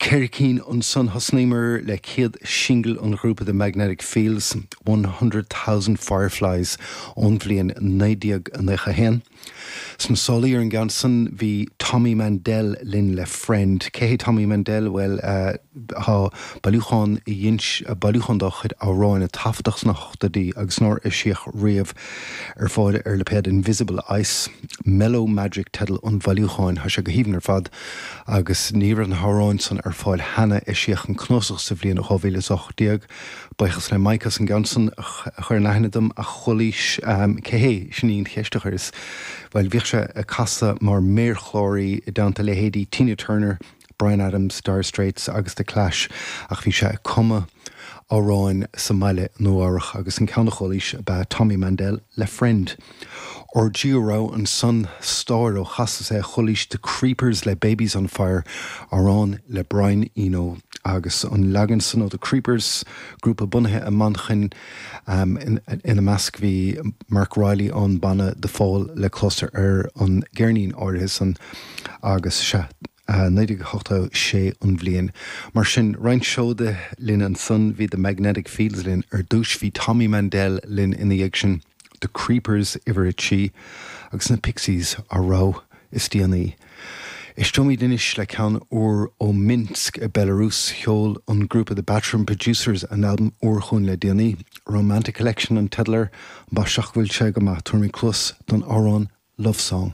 Ceithre cinn ansan. Thosnaíomar le céad singil an ghrúpa The Magnetic Fields, 100,000 Fireflies ón bhliain 1991. Sna sálaí ar an gceann san bhí Tommy Mandel linn le Friend. Cé hé Tommy Mandel? Bhuel, tá bailiúchán a dhein, bailiúchán dá chuid amhráin a taifeadadh sna hochtóidí agus nár eisíodh riamh ar fáil ar lipéad Invisible Ice. Mellow Magic teideal an bhailiúcháin. Tá sé go haoibhinn ar fad agus ní raibh na hamhráin san ar fáil cheana. Eisíodh an cnuasach sa bhliain 2018. Buíochas le Mike as an gceann san a chur in aithne dom, ach chualaís cé hé? Sin í an cheist a chuireas. Bhuel, bhíodh sé ag casadh mar méarchláraí i dteannta leithéidí Tina Turner, Bryan Adams, Dire Straits agus The Clash ach bhí sé ag cumadh amhráin sa mbaile i Nua Eabhrach agus an ceann a chualaís ab ea Tommy Mandel le Friend. Ár dtríú rogha ansan, stáir ó chastas é, chualaís The Creepers le Baby's on Fire, amhrán le Brian Eno agus an leagan san ó The Creepers, grúpa bunaithe i Manchain, ina measc bhí Marc Riley ón banna The Fall le clos ar an gceirnín áirithe san agus sea, 1986 an bhliain. Mar sin, roinnt seoda linn ansan, bhí The Magnetic Fields linn ar dtúis, bhí Tommy Mandel linn ina dhiaidh sin, The Creepers uimhir a trí, agus na Pixies ár rogha is déanaí. Éisteoimid anois le ceann úr ó Minsk i Belarus. Sheol an grúpa The Bathroom Producers a n-albam úr chugainn le déanaí. Romantic Collection an teideal air. Ambaiste ach go bhfuil sé go maith. Tabharfaimid cluas don amhrán Love Song.